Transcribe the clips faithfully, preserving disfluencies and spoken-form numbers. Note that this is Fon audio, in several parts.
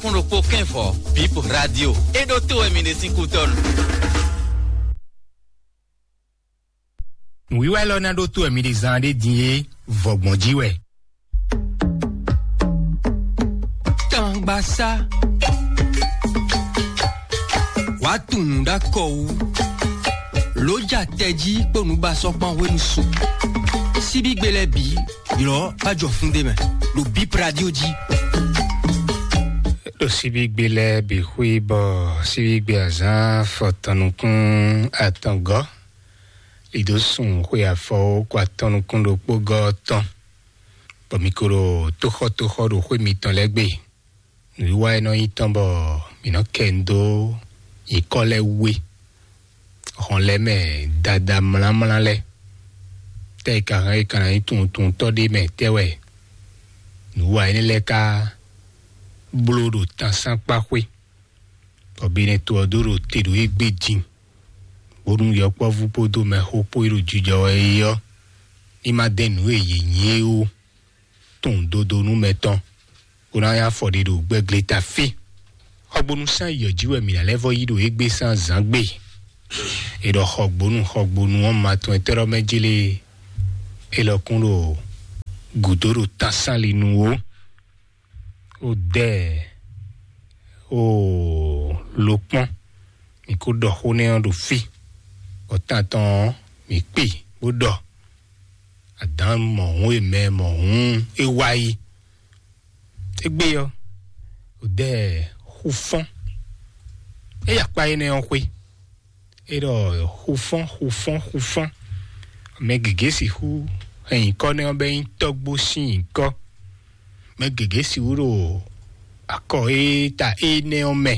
Kún ɖokpó kɛ́nvɔ, Bip Radio. É ɖó tó wɛ mi ɖe sín kútɔ́nu. Nǔwiwa élɔ́ ná ɖótó wɛ mi ɖe zán ɖé din é, vɔ̌gbɔn jí wɛ. Tangbasá. Wàá tunwun ɖó akɔ wú. Lǒ ja tɛjí kpó nǔbasɔ́ kpán hwenu su. Síbígbe lɛ́ɛ bǐ ylɔ́ bá jɔ fún ɖé mɛ ɖo Bip Radio jí. Ɖo síbígbe lɛ́ɛ bǐ xwí bɔ síbígbe azǎn fɔtɔn nukún atɔngɔ́, lido sun xwe afɔwo kó atɔn nukún ɖokpó gɔ́ tɔn, bɔ mi ko ɖo tóxɔ́tóxɔ́ ɖo xwé mitɔn lɛ́ɛ gbe. Nǔwiwa e nɔ nyí tɔn bɔ mǐ nɔ kɛ nu dó nyǐkɔ lɛ́ɛ wú é, hɔn lɛ́ɛ mɛ dada mlǎmlá lɛ́ɛ. Tɛ́ e ka hɛn e ka ná nyí tunwuntunwuntɔ́ ɖé mɛ tɛ́ wɛ nǔwiwa énɛ́ lɛ́ɛ ka bló ɖo tansánkpaxwé, bɔ Benɛto ɔ́ dó ɖo te ɖo égbé din, bónú yɔkpɔ́vú kpódó mɛxó kpó e ɖo jijɔ wɛ é ɔ́, ní ma dɛn nǔ e yě nyí é ó. Tunwun dodonu mɛtɔn, bó ná nyí afɔ ɖe ɖo gbɛgleta fí. Xɔgbónú sán yɔ jí wɛ mǐ ná lɛ́ vɔ yí ɖo égbé sín azǎn gbe. È ɖɔ xɔgbónú xɔgbónú ɔ́ ma tɔn etɛ́ ɖɔ mɛ jlé, é lɔ kún ɖo gǔdo ɖo tánsáli nu ó. Ó dɛ ó lo kpɔ́n, mǐ kó ɖɔ xó nɛ́ ɔ́ ɖo fí, bɔ tán tɔn ɔ́, mǐ kpi bó ɖɔ. Adǎn mɔ̌hun e mɛ mɔ̌hun é wá yi. Égbé ɔ́, ò dɛ xufɔ́n. É yi akpá énɛ́ ɔ́ xwé. É ɖɔ xufɔ́n, xufɔ́n, xufɔ́n. Mɛ gěgé sixú hɛn nyǐkɔ nɛ́ ɔ́ bɔ é nyí tɔ́gbó sín nyǐkɔ. Mɛ gěgé sixú ɖo akɔ e ta énɛ́ ɔ́ mɛ.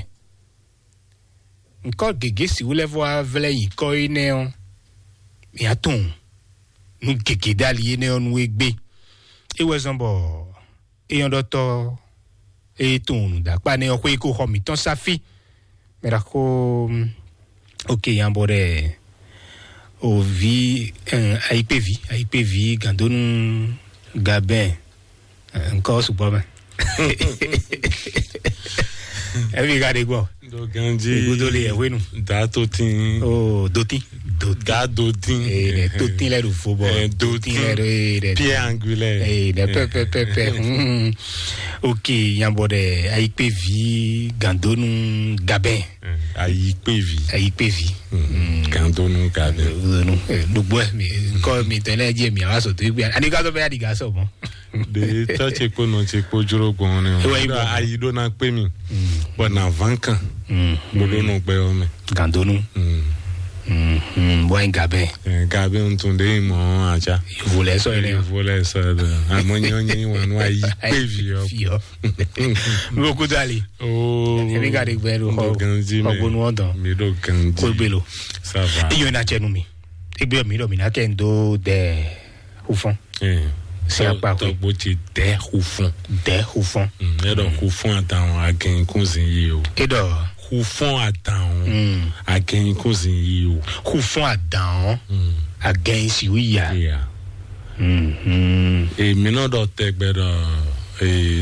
Nyǐkɔ gěgé sixú lɛ́ vɔ wá vlɛ́ nyǐkɔ énɛ́ ɔ́, mǐ á tunwun nú gěgé ɖ'ali énɛ́ ɔ́ nú égbé. É wɛ zɔ́n bɔ é nyɔ́ ɖɔtɔ́ e tunwun nǔɖaxó nɛ́ ɔ́ xwé kó xɔ mǐtɔn sá fí. Mɛ ɖaxó, ok, yan bɔ ɖɛ o vi, ayikpévi, ayikpévi gǎndónú Gabɛn, nkɔ sukpɔ mɛ. Ɛvi ka ɖe gbɔ? Ɖo ganji. Igodo le yɛ hwenu. Da totin. O dotin. Dotin. Da dotin. Ee, ne totin lɛ ɖo fo bɔ. Dotin lɛ ɖo, ee, ne pierre angulaire. Ee, ne pɛ pɛ pɛ pɛ. Ok, yan bɔ ɖɛ ayikpévi gǎndónú Gabɛn. Ayikpévi. Ayikpévi. Gǎndónú Gabɛn. Ɖogbo mi nkɔ mi tɛlɛ jɛ mi awa sɔtɔ egbe ani ka sɔ bɛ adiga sɔ mɔ. De tɔ ce kpo nɔ ce kpo joro gbɔn ne. Ewa ibo. Ayi ɖo na kpe mi. Bɔ na van kan. Bolo nɔ gbɛ yɔ mɛ. Gandonu. Bɔ yin gabɛ. Gabɛ ntun de mɔ aja. Volɛ sɔ yɛ. Volɛ sɔ yɛ. Amɔ nyɔ nyɔ wanu ayi kpe vi yɔ. Fi yɔ. Loko dali. Oh. Emi ka de gbɛ do xɔ. Ganji mɛ. Xɔgbonu ɔdɔn. Mi do ganji. Ko gbelo. Ça va. Iyo na cɛ nu mi. Egbe mi do mi na kɛ ndo de. Xufɔn. Sin akpa xwe. Tɔgbo ti dɛ xufɔn. Dɛ xufɔn. Ɛ dɔ xufɔn atan agɛn kún zin yi o. E dɔ. Xufɔn atan agɛn kún zin yi o. Xufɔn adan ɔ agɛn si wi ya. Iya. Èmi náà dɔ tẹgbẹ dɔ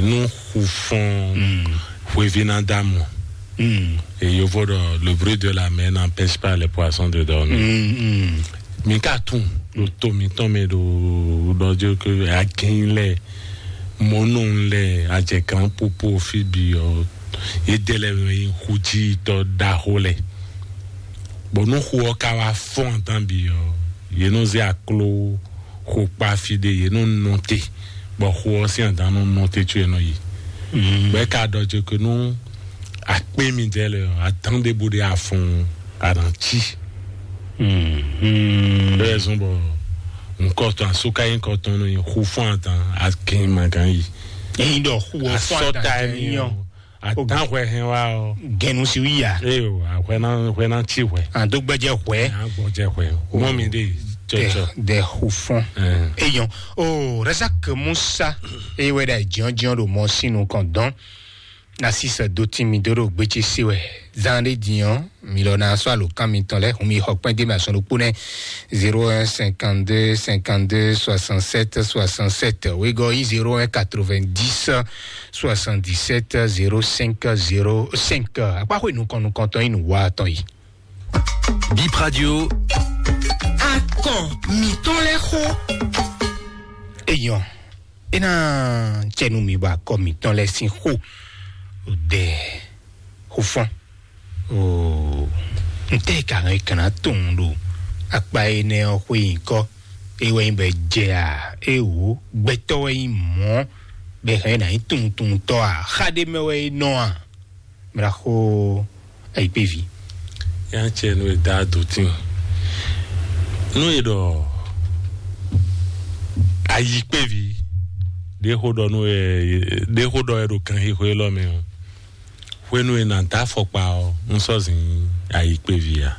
nu xufɔn hwevi na dá mɔ. Et yovo dɔ le bruit de la mer n'empêche pas les poissons de dormir. Mi ka tún ɖo to mitɔn mɛ ɖo ɖɔjɔ ke agɛn lɛ mɔnu lɛ ajɛ kan popo fi bi ɔ ye de lɛ mɛ yi xudzi tɔ ɖaxo lɛ. Bɔn nu xu ɔ ka wá fɔn atan bi ɔ ye nɔ zɛ aklo xo kpa fi ɖe ye nɔ nɔ te bɔ xo ɔ sín adan nɔ nɔ te tso ye nɔ yi. Bɛ ka ɖɔ jɛ ke nu akpé mi dɛ lɛ ɔ adan ɖe bo ɖe afɔn aɖantsi. Bɛ zɔn bɔ nkɔtɔn asoka yi nkɔtɔn nɔ yi xu fún adan akin magan yi. Eyin dɔ xu ɔ fún adan yɔ. Adan hwɛ hɛn wa ɔ. Gɛnu si wi ya. Eyo ahwɛ na hwɛ na tsi hwɛ. Ado gbɛjɛ hwɛ. Agbɔjɛ hwɛ. Mɔ mi de tsɔtsɔ. De xu fún. Eyɔn o Razak Musa eye wɛ ɖe jiyɔnjiyɔn ɖo mɔ sinu kɔn dɔn. Narcisse Dotimi dó ɖo gbétsé se wɛ. Zan ɖé din ɔ́, mi lɔ ná sɔ́ alǒkan mitɔn lɛ́ɛ hun mi xɔ kpɛ́n dé mɛ azɔn ɖokpó nɛ́. Zéro un cinquante-deux cinquante-deux soixante-sept soixante-sept. Wegɔ́ yí zéro un quatre-vingt-dix soixante-dix-sept zéro cinq zéro cinq. Akpáxwé nukɔn nukɔntɔn yí nǔwá tɔn yìí. Bip Radio. Akɔn mǐtɔn lɛ́ɛ xó. Eyɔn, é ná cɛ nú mi bɔ akɔ mǐtɔn lɛ́ɛ sín xó ɖɛ xó fɔ́n. Oo, ntɛ́ ka hɛn kan ná tunwun ɖo akpa énɛ́ ɔ́ xwé nyǐkɔ? É wɛ nyí bɔ é jɛ a? É wǒ, gbɛtɔ́ wɛ nyí mɔ̌, bɔ é hɛn ná nyí tunwuntunwuntɔ́ a? Xá ɖé mɛ wɛ é nɔ a? Mla xó ayikpévi. Yá cɛ nú e dá dǒtín. Nú e ɖɔ ayikpévi ɖé xó ɖɔ nú e ɖé xó ɖɔ e ɖo kanxixo élɔ́ mɛ ɔ́, hwenu e nǎ dó afɔkpa ɔ́, un sɔ́ zin ayikpévi ǎ.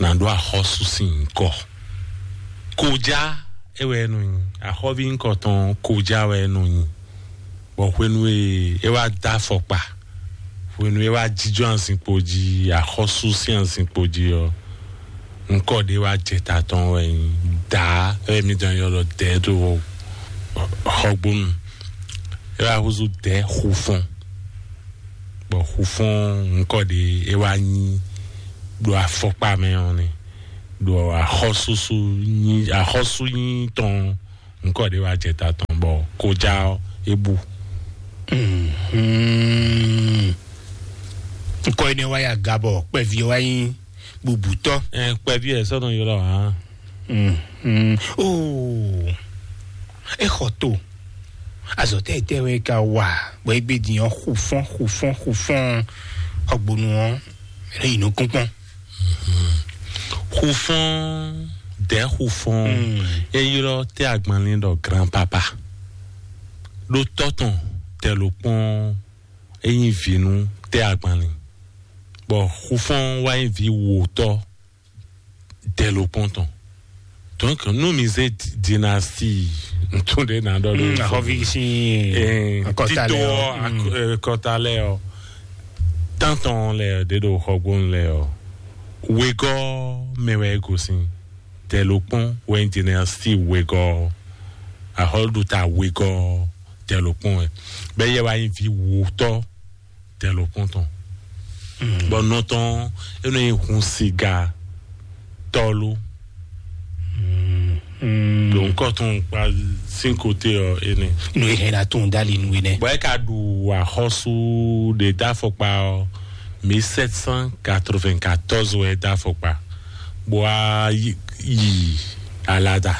Nǎ ɖó axɔ́sú sín nyǐkɔ. Kojá é wɛ é nɔ nyi. Axɔ́ví nyǐkɔ tɔn ɔ́, Kojá wɛ é nɔ nyi. Bɔ hwenu e é wá dó afɔkpa, hwenu e é wá jínjɔ́n azinkpo jí, axɔ́sú sín azinkpo jí ɔ́, ŋkɔ ɖé wá jɛ ta tɔn wɛ nyí Dǎ, ɛ mi dɔn ylɔ Dɛ̌ ɖo Xɔgbónu. É wá húzú Dɛ̌ Xufɔ́n, bɔ Xufɔ́n ŋkɔ ɖé é wá nyí ɖo afɔkpa mɛ ɔ́ nɛ́, ɖo axɔ́súsú nyí axɔ́sú nyí tɔn ŋkɔ ɖé wá jɛ ta tɔn bɔ Kojá ɔ́ é bú. Mhm. Ŋkɔ énɛ́ wá yi aga bɔ kpɛví ɔ́ wá nyí bubutɔ́. Ɛ, kpɛví ɛ sɔ́ nɔ ylɔ́ hǎn. Mhm. Oo, é xɔ to. Azɔ̌ tɛ́ tɛ́ wɛ ka wa bɔ é gbé din ɔ́ xufɔ́n xufɔ́n xufɔ́n. Xɔgbonu ɔ́ é yi nukún kpɔ́n. Xufɔ́n, Dɛ̌ Xufɔ́n, é ylɔ́ tɛ́ agbanlín ɖɔ Grand Papa. Ɖó tɔ́ tɔn Dɛ̌ Lɔkpɔ́n é nyí vǐ nú tɛ́ agbanlín, bɔ Xufɔ́n wá nyí vǐ wǒtɔ́ Dɛ̌ Lɔkpɔ́n tɔn. Donc nú mi zé dynastie ntún ɖé ná ɖɔ lé, axɔ́ví sín akɔta tito lɛ ɔ́, akɔta lɛ ɔ́, tántɔn lɛ ɖě ɖo Xɔgbónu lɛ ɔ́, wegɔ́ mɛ wɛ é gosín. Dɛ̌ Lɔkpɔ́n wɛ nyí dynastie wegɔ́ ɔ́. Axɔ́ɖuta wegɔ́ Dɛ̌ Lɔkpɔ́n wɛ. Bɛ́ yɛ wá nyí vǐ wǒtɔ́ Dɛ̌ Lɔkpɔ́n tɔn. Bɔ nɔ tɔn é nɔ nyí hun siga tɔ́lú. Ɖo ŋkɔ tɔn kpa sín kote ɔ́ énɛ́. Nú é hɛn ná tún dali nú énɛ́. Bɔ é ka ɖu axɔ́sú ɖe dó afɔkpa ɔ́, mille sept cent quatre-vingt-quatorze wɛ é dó afɔkpa, bó wá yi alada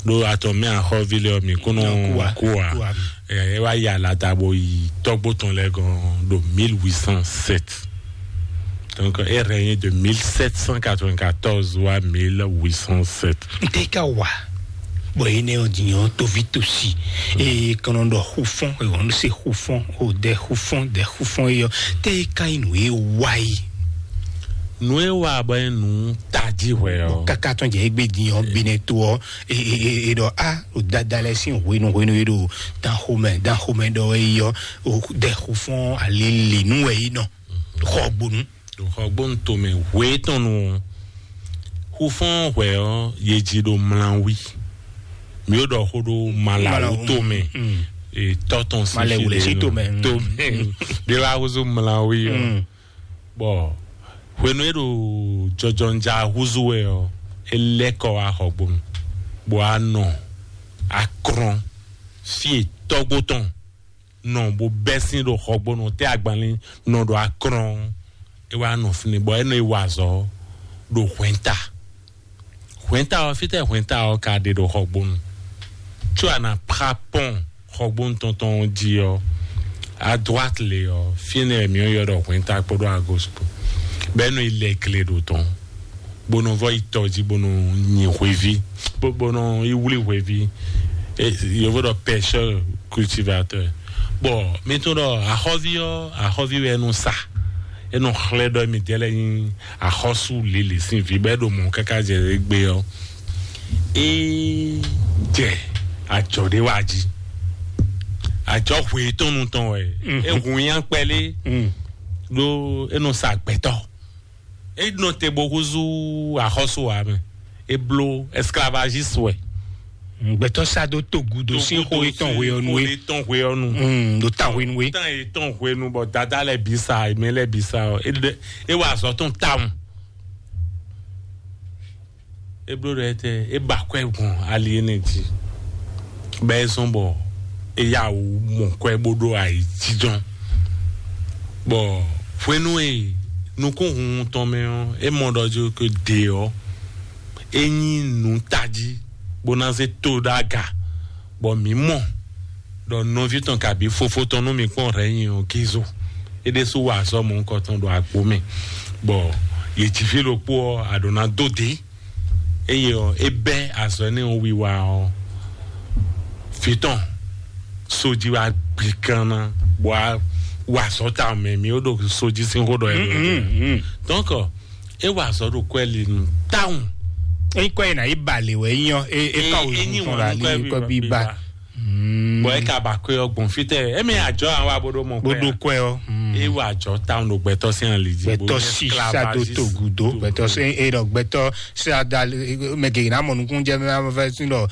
ɖó atɔn mɛ axɔ́ví lɛ ɔ́ mi kún nɔ kú a. Ɛ, é wá yi alada bó yi tɔ́gbó tɔn lɛ́ɛ gɔ́n ɖo mille huit cent sept. Donc é règne de mille sept cent quatre-vingt-quatorze wá mille huit cent sept. N tɛ ka wa bɔ énɛ́ ɔ́ din ɔ́ toví tosi eye kɔnɔ ɖɔ xufɔn ewɔ nu se xufɔn o dɛ xufɔn dɛ xufɔn eyɔ tɛ ka yi nù e wa yi. Nù e wa bɔ e nù tají hwɛ ɔ. Kaka tɔn jɛ egbe din ɔ benɛ to ɔ e e e e ɖɔ a o dada lɛ sin hwenu hwenu e ɖo dan xomɛ dan xomɛ ɖɔ e yɔ o dɛ xufɔn ali li nu wɛ yi nɔ xɔ gbonu. Ɖo Xɔgbónu tomɛ hwe tɔn nu ɔ́, xufɔ́n hwɛ ɔ́, yě jí ɖo mlawí. Mi ó ɖɔ xó ɖó Malawu tomɛ, tɔ́ tɔn sín Malɛwu lɛ sí tomɛ, mm. Tomɛ. Bí wàá húzú mlawí ɔ́. Bɔ hwenu e ɖo jɔjɔnja húzú wɛ ɔ́, é lɛ́ kɔ wá Xɔgbónu, bɔ a nɔ akrɔn fí e tɔ́gbó tɔn nɔ bó bɛ́ sín ɖo Xɔgbónu tɛ́ agbanlín nɔ ɖo akrɔn. É wá nɔ fínɛ́ bɔ é nɔ yi wa azɔ̌ ɖo hwɛ̌nta. Hwɛ̌nta ɔ́, fítɛ́ hwɛ̌nta ɔ́ ka ɖe ɖo Xɔgbónu? Có a nǎ prá pɔ́n Xɔgbónu tɔn tɔn ɔ́ jí ɔ́, adwát le ɔ́, fínɛ́ mǐ ɔ́ ylɔ́ ɖɔ hwɛ̌nta kpódó agos kpó, bɔ é nɔ yi lɛ gle ɖo tɔn. Bó nɔ vɔ yi tɔ jí bó nɔ nyi hweví, bó bó nɔ yi wlí hweví. Yovo ɖɔ pêcheur cultivateur. Bɔ mi tún ɖɔ axɔ́ví ɔ́, axɔ́ví wɛ nɔ sa. E nɔ xlɛ́ ɖɔ mi dɛ lɛ nyi axɔ́sú lili sín vi bɔ é ɖo mɔ káká jɛ gbe ɔ́, é jɛ ajɔ ɖé wá jí. Ajɔ hwe tɔn nu tɔn wɛ. E hun nya kpɛlɛ ɖo e nɔ sa gbɛtɔ. E nɔ te bo húzú axɔ́sú wa mɛ. E bló esclavagiste wɛ. Gbɛtɔ sa do togudo sin xo etɔn hwe ɔnu e. Etɔn hwe ɔnu. Do ta hwe nu e. Tan etɔn hwe nu bɔ dada lɛ bi sa, mɛ lɛ bi sa ɔ. E wa azɔ tɔn tawun. E bló ɖɔ etɛ, e ba kwɛ gbɔn ali ene jí. Bɛ e zɔn bɔ e ya wǔ mɔ kwɛ bó ɖó ayi jijɔn. Bɔ hwenu e nukúnhun tɔn mɛ ɔ́, e mɔ ɖɔ jó ke ɖe ɔ́, e nyí nǔ tají bó ná zé to ɖó aga. Bɔ mǐ mɔ ɖɔ nɔví tɔn kabí fofó tɔn nú mǐ kpɔ́n hɛ̌ nyi ɔ́, Gizo. É ɖésú wa azɔ́ mɔ̌hunkɔtɔn ɖo agbo mɛ, bɔ yě jí fí ɖokpó ɔ́, a ɖǒ ná dó dě. Eye ɔ́, é bɛ́ azɔ̌ énɛ́ ɔ́ wiwa ɔ́, vǐ tɔn sojí wá gbi kan ná, bɔ wá wa azɔ̌ ta mɛ, mǐ ó ɖo sojí sín xó ɖɔ ɛ. Donc, é wa azɔ̌ ɖo kwɛ́ li nu tawun. Eyi kɔ yi na yi ba le wɛ nyɔ e e ka o zun tɔn la li kɔ bi ba. Bɔn e ka ba kɔe ɔ gbɔn fitɛ, emi ajɔ awa bo ɖo mɔ kɔe. Bo ɖo kɔe ɔ. E wa ajɔ tawun ɖo gbɛtɔ sin ali dzi. Gbɛtɔ si sa do to gudo, gbɛtɔ si e ɖɔ gbɛtɔ sa da mɛ gege na mɔ nukun jɛ mɛ ma fɛ sin ɖɔ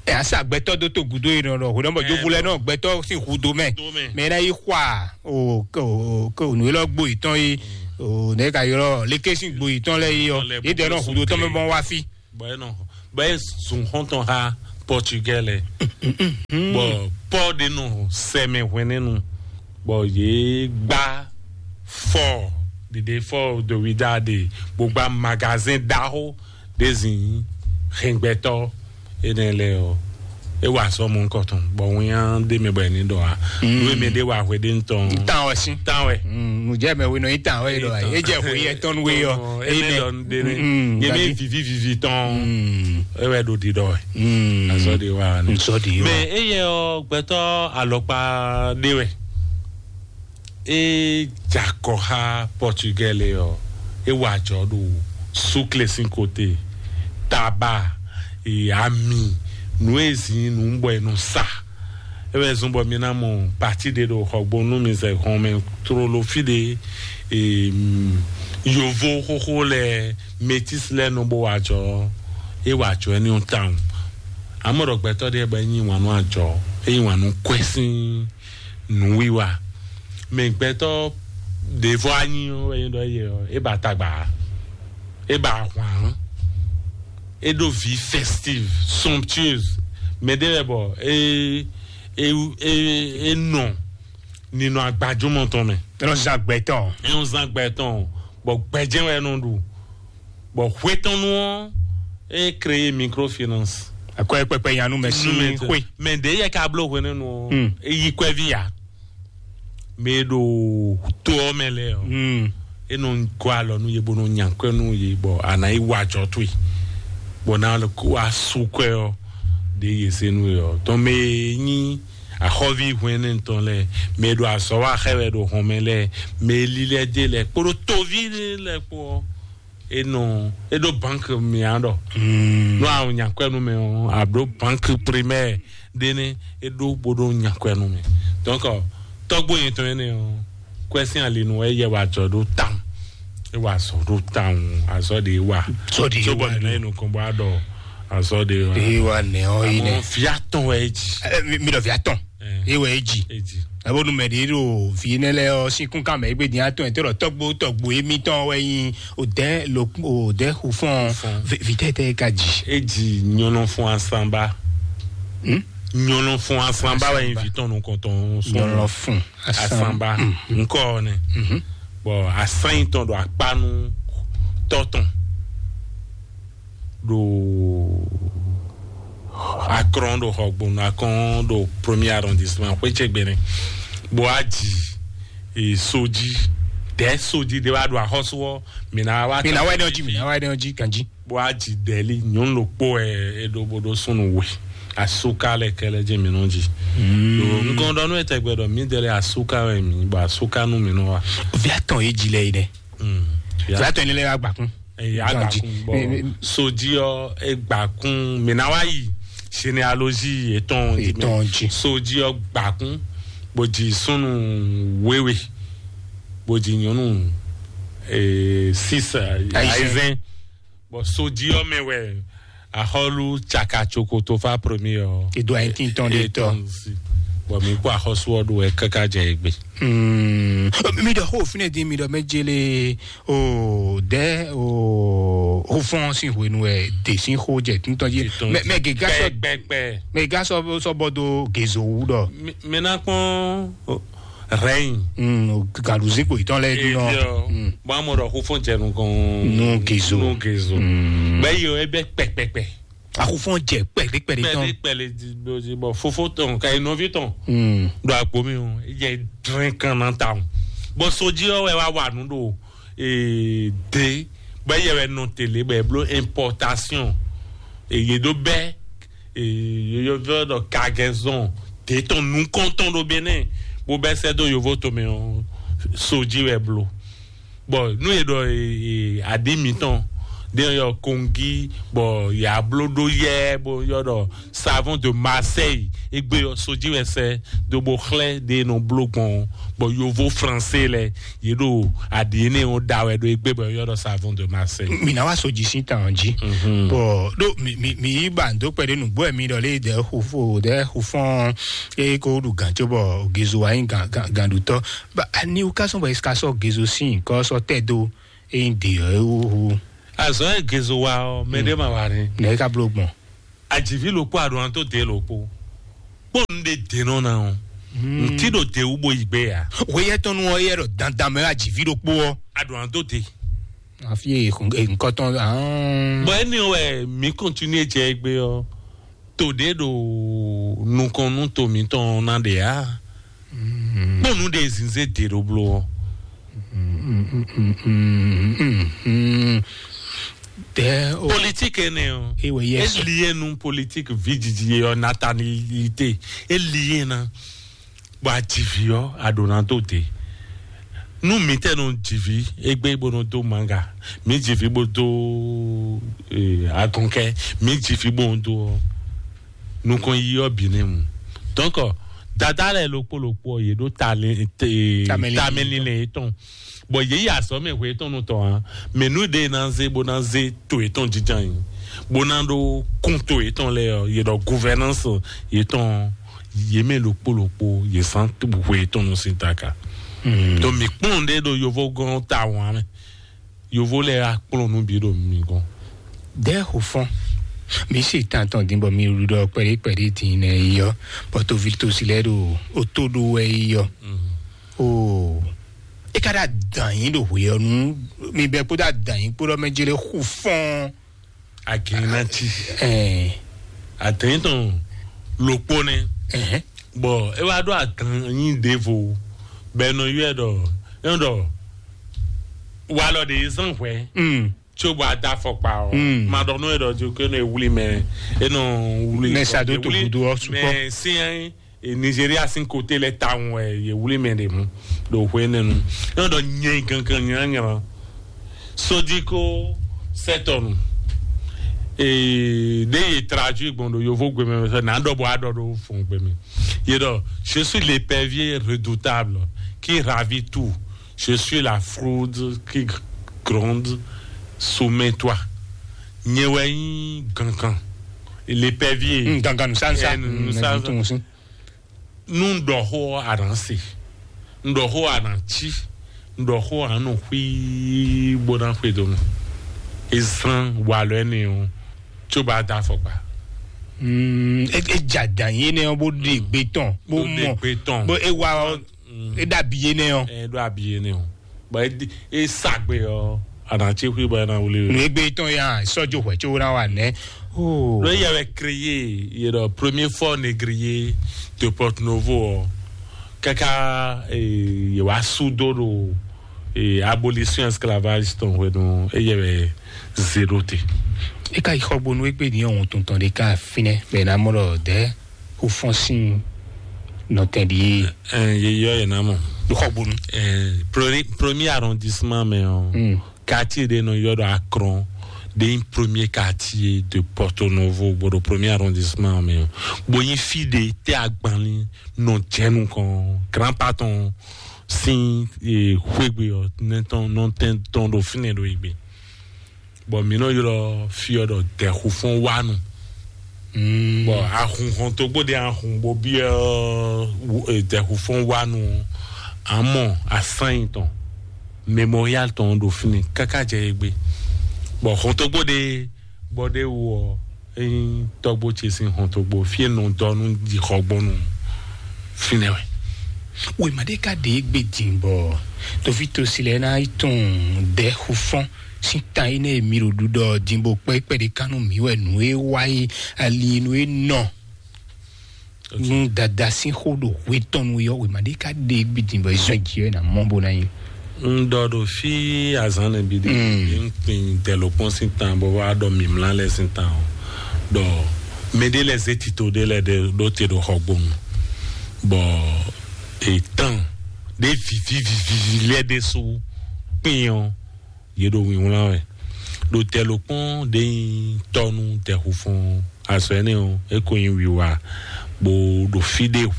ɛ asa gbɛtɔ do to gudo yi nɔ ɖɔ hwedɔn bɔ jovo lɛ nɔ gbɛtɔ sin hudo mɛ mɛ na yi xwa o ke o ke o nu yelɔ gbo yi tɔn yi o ne ka yɔrɔ leke sin gbo yi tɔn lɛ yi ɔ yi dɛ nɔ hudo tɔn mɛ bɔn wa fi. Bɔ e nɔ bɔ e zun xɔntɔn xa Portugal lɛ. Bɔ Paul de nɔ sɛmɛ hwɛnɛnu bɔ yě gbá fɔ dede fɔ dowida de bó gbá magazin ɖaxó ɖe zin hɛngbɛtɔ enɛ lɛ ɔ e wa sɔ mɔ nkɔtɔn bɔ wínya de mɛ bɔ ɛni dɔ wa nu eme de wa hwe de ntɔn. Tan wɛ si. Tan wɛ. Nujɛ mɛ wino yi tan wɛ yi dɔ wa yi e jɛ hwe yɛ tɔn we yɔ. Ene dɔ de ne ye mi vivi vivi tɔn e wɛ do di dɔ wɛ. Azɔ de wa ne. Nsɔ di yɔ. Mɛ eye ɔ gbɛtɔ alɔkpa de wɛ. E jakɔ xa Portugal ɔ e wa jɔ ɖo sukle sin kote taba e ami nu e zin nu bɔ e nɔ sa. E wɛ zun bɔ mi na mɔ pati ɖe ɖo xɔgbonu mi zɛ hɔn mɛ tlolo fi ɖe e yovo xoxo lɛ metis lɛ nɔ bo wa jɔ e wa jɔ ɛ ni tawun. Amɔ ɖɔ gbɛtɔ ɖe bɔ e nyi wanu ajɔ e nyi wanu kwɛsin nǔwiwa. Mɛ gbɛtɔ ɖěvɔ anyi ɔ́ wɛ nyí ɖɔ yɛ ɔ́ é ba tagba, é ba ahwan, é ɖó vi festive, somptueuse. Mɛ ɖé wɛ bɔ é é é é nɔ ninɔ agbajúmɔ tɔn mɛ. Ɛ nɔ zan gbɛtɔn. Ɛ nɔ zan gbɛtɔn, bɔ gbɛjɛ wɛ nɔ ɖu. Bɔ hwetɔnu ɔ́, é créé microfinance. Akɔye kpɛkpɛ yanu mɛ si xwe. Mɛ ɖe yɛ ka bló hwenɛnu ɔ́, é yí kwɛvi ya. Mɛ ɖo to ɔ́ mɛ lɛ ɔ́, é nɔ gɔ alɔ nú yě bó nɔ nya kwɛ nú yě, bɔ a nǎ yi wa jɔ towe, bɔ ná lɔ kó wá sú kwɛ ɔ́ ɖě yě se nú yě ɔ́. Tɔn mɛ e nyí axɔ́ví hwɛnɛnu tɔn lɛ, mɛ e ɖo azɔ̌ wa xɛ wɛ ɖo hɔn mɛ lɛ, mɛ e lílɛ́ dé lɛ kpódó toví lɛ kpó ɔ́, e nɔ e ɖo banque mia ɖɔ nɔ a nya kwɛ nú mɛ ɔ́, a ɖo banque primaire ɖe ne e ɖo bo ɖo nya kwɛ nú mɛ. Donc tɔgbo yɛn tɔn ɛnɛ ɔ́, kwɛ sin ali nu e yɛ wa jɔ ɖo tan, e wa zɔ ɖo tan, azɔ de wa. Zɔ de wa ne nukɔn bɔ a ɖɔ azɔ de wa. E wa ne ɔ yi ne. Amɔ fia tɔn wɛ e dzi. Mi ɖɔ fia tɔn. Ewɔ eji. Eji. Abo numɛ ɖe ɖo vi ne lɛ ɔ sinkun kan mɛ egbe din atɔn ete ɖɔ tɔgbo tɔgbo emitɔn wɛ yin odɛ lo odɛ xufɔn vitɛtɛ ka ji. Eji nyɔnɔ fún asanba. Hmm? Nyɔnɔ fún asanba wɛ yin vitɔn nukɔntɔn sɔn. Nyɔnɔ fún asanba. Nkɔ ne. Bɔn asan yi tɔn ɖo akpanu tɔtɔn. Ɖo akɔn ɖo xɔgbonu akɔn ɖo premier arrondissement xwétsɛgbɛnɛ, bó wá dzi soji dɛ soji ɖe wá ɖo axɔsú ɔ. Mina wá mina wá ɖe ɔdzi mina wá ɖe ɔdzi kanji. Bó wá dzi dɛli nyɔnu ɖokpó ɛ eɖo bó ɖo súnnu we. Asuka lɛ kɛlɛ dzi mi nɔ dzi. Nukɔn ɖɔ nú etɛgbɛ ɖɔ mi dɛlɛ asuka wɛ mi bɔ asuka nú mi nɔ wa. Via tɔn ye dzi lɛ yi dɛ. Via tɔn ye lɛ wa gbakun. Eya gbakun bɔ soji ɔ egbakun mina wa yi généalogie yětɔn jí mɛ. Yětɔn jí. Sodzi ɔ́ gbakún, bó jí súnnu wéwe, bó jí nyɔnu, eh, six, eh, Aizɛn. Aizɛn. Bɔ sodzi ɔ́ mɛ wɛ axɔ́lú Tsaka Tsokotofa premier ɔ́. Edo ayi tin tɔn ɖe tɔ. Etɔn si. Bɔ mi kpɔ axɔ́sú ɔ́ ɖo wɛ káká jɛ egbe. Hmm. Mi ɖɔ xó fínɛ dín, mi ɖɔ mɛ jele o dɛ o xó fɔn sín hwenu wɛ de sín xó jɛ títɔn jí. Títɔn mɛ mɛ gɛgá sɔ pɛpɛpɛ. Mɛ gɛgá sɔ sɔ bɔ do gezo wu ɖɔ. Mi- mi ná kpɔn rɛyin. Hmm, o galuzi kpo itɔn lɛ dun nɔ. Bɔn amɔ ɖɔ xó fɔn jɛ nukɔn. Nu gezo. Nu gezo. Hmm. Bɛ yi o ebe pɛpɛpɛ. Axufɔn jɛ pɛlɛpɛlɛ tɔn. Pɛlɛpɛlɛ di bɔ fofo tɔn ka yi nɔvi tɔn. Hmm. Ɖo agbo mi o, yɛ drɛn kan na ta o. Bɔn soji ɔ wɛ wa wa nu ɖo, eh, de bɛ yɛ wɛ nɔ tele bɛ blo importation. Eye ɖo bɛ, eh, yɔyɔvɛ ɖɔ cargaison de tɔn nukɔntɔn ɖo Benin, bo bɛ sɛ do yovo tomɛ o, soji wɛ blo. Bɔn nu e ɖɔ, eh, eh, aɖi mitɔn ɖe yɔ kongi, bɔn ya blo ɖo yɛ bo yɔ ɖɔ savon de Marseille egbe yɔ soji wɛ sɛ do bo xlɛ ɖe nɔ blo gbɔn, bɔn yovo français lɛ ye ɖo aɖi ene o da wɛ ɖo egbe bɔ yɔ ɖɔ savon de Marseille. Mi na wa soji sin tan ji. Mhm. Bɔn ɖo mi mi mi yi ba ndo kpɛ ɖe nugbo mi ɖɔ le de xufo de xufɔn e ko ɖu gan tso bɔ gezo wa yin gan gan gan ɖutɔ. Ba ani wo ka sɔn bɔ e ka sɔ gezo sin kɔ sɔ tɛ do e yin de ɔ e wu wu. Azɔ e gezo wa ɔ mɛ ɖe ma wa ni. Ne e ka blo gbɔn. Ajivi loko aɖo an to de loko. Kpɔn nu de de nɔ na o. Nti ɖo de wu bo yi gbe ya. Weyɛ tɔn nu ɔ yɛ ɖɔ dandan mɛ ajivi ɖokpo ɔ. Aɖo an to de. Afi e nkɔtɔn. Bɔn eni wɛ mi continue jɛ egbe ɔ. To ɖe ɖo nukɔn nu to mitɔn na ɖe ya. Kpɔn nu de zinze de ɖo blo ɔ. Tɛ o. Politique ene o. Ewe yɛ sɔ. Elie nu politique vi didi ye ɔ natanilite. Elie na. Bɔ ajivi ɔ aɖo na do de. Nu mi tɛ nɔ jivi egbe bo nɔ do manga, mi jivi bo do, eh, agɔnkɛ, mi jivi bo nɔ do ɔ, nukɔn yi ɔ bi ne mu. Donc dada lɛ lokpo lokpo ɔ ye ɖo tamɛ tamɛ linlɛn yetɔn. Bɔn yě yi azɔ̌ mɛ hwe tɔn nutɔn ǎ. Mɛ nú ɖe ná zé bó ná zé to yětɔn jínjɔ́n nyi, bó ná ɖó kún to yětɔn lɛ́ɛ ɔ́, yě ɖɔ gouvernance yětɔn, yě mɛ ɖokpó ɖokpó yě zán hwe yětɔn nú sín taka. Donc mi kplɔ́n ɖé ɖo yovógɔn tawun ǎ mɛ. Yovo lɛ́ɛ wá kplɔ́n nú bǐ ɖo mi gɔ́n. Dɛ̌ xo fɔ́n, mi se tan tɔn din bɔ mi ɖu ɖɔ kpɛɖé kpɛɖé din nɛ yi ɔ́, bɔ toví tosi lɛ́ɛ ɖo ó tó ɖó wɛ yi ɔ́. Oo, é ka ɖo adǎn nyi ɖo hwe ɔ́ nu, mi bɛ kpódó adǎn nyi kpódó mɛ jɛ lɛ xu fɔ́n. Agɛnati. Ɛɛ. Adǎn tɔn lokpo nɛ. Ɛhɛn. Bɔ é wá ɖo adǎn nyi ɖěvo, bɛ nɔ yɔɛ ɖɔ, é nɔ ɖɔ, walɔ ɖe zan hwɛ. Mm. Tso bɔ ada afɔkpa o. Mm. Ma ɖɔ nɔ é ɖɔ jo ke nɔ wuli mɛ, é nɔ wuli. Mɛ sa do to gudu ɔ sukpɔ. Mɛ sian e Nigeria sin kote lɛ tawun wɛ ye wuli mɛ ɖe mu ɖo hwe nɛnu. Nɔ ɖɔ nyɛ gangan nyanya. Sodiko sɛtɔnu. Ee, ɖe ye traduit gbɔn ɖo yovo gbe mɛ sɔ na ɖɔ bɔ aɖɔ ɖo fun gbe mɛ. Ye ɖɔ, je suis l'épervier redoutable qui ravit tout. Je suis la fraude qui gronde sous mes toits. Nyɛ wɛ nyí gangan. L'épervier. Mm, gangan nusánsa. Ɛ, nusánsa. Mm, nusánsa. Nu un ɖɔ xó ɔ́, a nǎ se. Un ɖɔ xó ɔ́, a nǎ cí. Un ɖɔ xó ɔ́, a nɔ xwí bó ná xwedó nú. E zán walɔ ɛnɛ ɔ́, tso bá da afɔkpa. Mm, e e dza dan yé nɛ ɔ́ bó ɖe gbe tɔn bó mɔ bó e wa ɔ́, e ɖo abi yé nɛ ɔ́. Ɛ ɖo abi yé nɛ ɔ́. Bɔ e di- e sa gbe ɔ́, a nǎ cí xwí bɔ e ná wuli. Nu egbe tɔn ya sɔjo hwɛ tso na wa nɛ. Oh. Ɖo yɛ wɛ créé ye ɖɔ premier fort négrier de Porto Novo ɔ́, kaka, eh, ye wá sudo ɖo, eh, abolition esclavage tɔn hwenu eye wɛ zé ɖo te. E ka yi xɔgbonu egbe ni ɔhun tuntun ɖe ka finɛ bɛ na mɔ ɖɔ dɛ o fɔn sin nɔtɛn ɖi. Ɛn ye yɔ ye na mɔ. Xɔgbonu. Ɛn premier arrondissement mɛ ɔ. Mm. Quartier ɖe nɔ yɔ ɖɔ Akron. ɖe nyí premier quartier de Porto Novo, bo ɖo premier arrondissement mɛ, bo nyí fí ɖe tɛ agbanlin nɔ jɛ nukɔn grand patron sin xwegbe ɔ nɛtɔn nɔtɛn tɔn ɖo fínɛ ɖo egbe. Bɔ mǐ nɔ ylɔ́ fí ɔ́ ɖɔ dɛxufɔ́n wánu. Bɔ ahun hɔntogbó ɖe ahun bó byɔ́ dɛxufɔ́n wánu, amɔ asányi tɔn, memorial tɔn ɖo fínɛ káká jɛ egbe. Bɔ hɔntogbó ɖe bɔ ɖe wú ɔ, ényí tɔgbo ce sín hɔntogbó fí e nɔ dɔ nú jixɔgbɔnu fínɛ wɛ. Wěma ɖé ka ɖe égbé din bɔ toví tosi lɛ́ɛ ná yi tunwun dɛxufɔ́n sín tan énɛ́ e mi ɖo ɖuɖɔ din bó kpɛ́ kpɛ́ɖé kan nú mǐ wɛ nǔ e wá yi ali nú e nɔ nú dada sín xó ɖo hwe tɔn nu yɔ wěma ɖé ka ɖe égbé din bɔ zɔn jǐ wɛ ná mɔ bó ná yi. Un ɖɔ ɖo fí azǎn nɛ bí ɖe, un kpin dɛlokpɔn sín tan bɔ wá ɖɔ mǐmlá lɛ́ɛ sín tan ɔ́, ɖɔ mɛ ɖé lɛ́ɛ zé tito ɖé lɛ́ɛ ɖe ɖó te ɖo xɔgbonu, bɔ etán ɖé vivívivívi lɛ́ɛ ɖésú kpin ɔ́, yě ɖo wǐnwlán wɛ. Ɖo dɛlokpɔn ɖé nyí tɔ́ nú dɛxufɔ́n azɔ énɛ́ ɔ́, é ko nyí wiwa, bó ɖo fí ɖé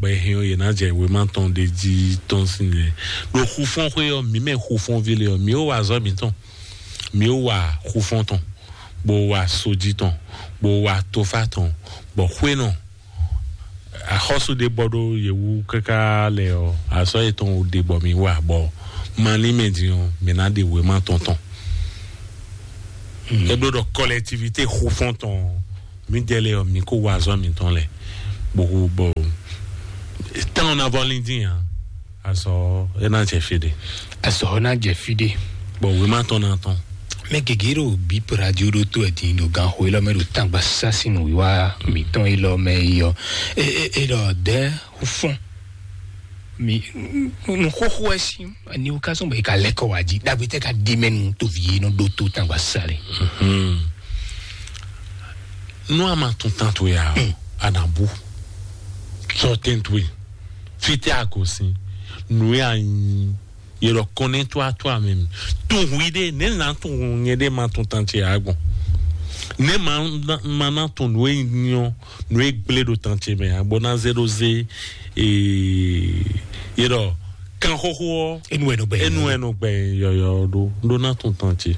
bɔ è hɛn ɔ́, yě ná jɛ wěma tɔn ɖé jí tɔn sín lɛ. Ɖo xufɔ́nxwé ɔ́, mǐ mɛ xufɔ́nví lé ɔ́, mǐ ó wa azɔ̌ mǐtɔn, mǐ ó wa xufɔ́n tɔn, bó wa sojí tɔn, bó wa tofá tɔn, bɔ xwé nɔ axɔ́sú ɖé bɔ ɖó yě wú káká lɛ ɔ́, azɔ̌ yětɔn wú ɖe bɔ mǐ wa, bɔ malín mɛ din ɔ́, mǐ ná ɖe wěma tɔn tɔn. É bló ɖɔ kɔlɛtivité xufɔ́n tɔn, mǐdɛɛ lɛ́ɛ ɔ́, mǐ kó wa azɔ̌ mǐtɔn lɛ, bó bɔ tán ɔ́ ná vɔ lín dín ǎ. Azɔ̌ é ná jɛ fí ɖé. Azɔ̌ ɔ́ ná jɛ fí ɖé. Bɔ wěma tɔn ná tɔn. Mɛ gěgé ɖo bíp radio ɖó tó ɛ din ɖo ganxo élɔ́ mɛ ɖo tangba sásinu wíwá mǐtɔn élɔ́ mɛ yi ɔ́. É é é ɖɔ dɛ́ fɔ́n mi nu xóxó ɛ sí aniwúkásùn bɔ yi ka lɛ́ kɔ wá jí ɖagbe tɛ ka di mɛ nu tovi yi nɔ ɖó tó tangba sáré. Nú a ma tún tán tó ya a nà bú sɔ tɛntwe fitɛ a kò sí nù ya nyi yɛlɔ kɔnɛ tó a tó a mɛ mi tún hu yi ɖe ne nà tún hu nyɛ ɖe ma tún tán tse a gbɔn ne ma ma na tún nù e nyɔ nù e gblé ɖo tán tse mɛ a gbɔ na zé ɖo zé ee yɛlɔ kan xóxó ɔ Enu ɛ nɔ gbɛ. Enu ɛ nɔ gbɛ yɔyɔ ɖo ɖo na tún tán tse.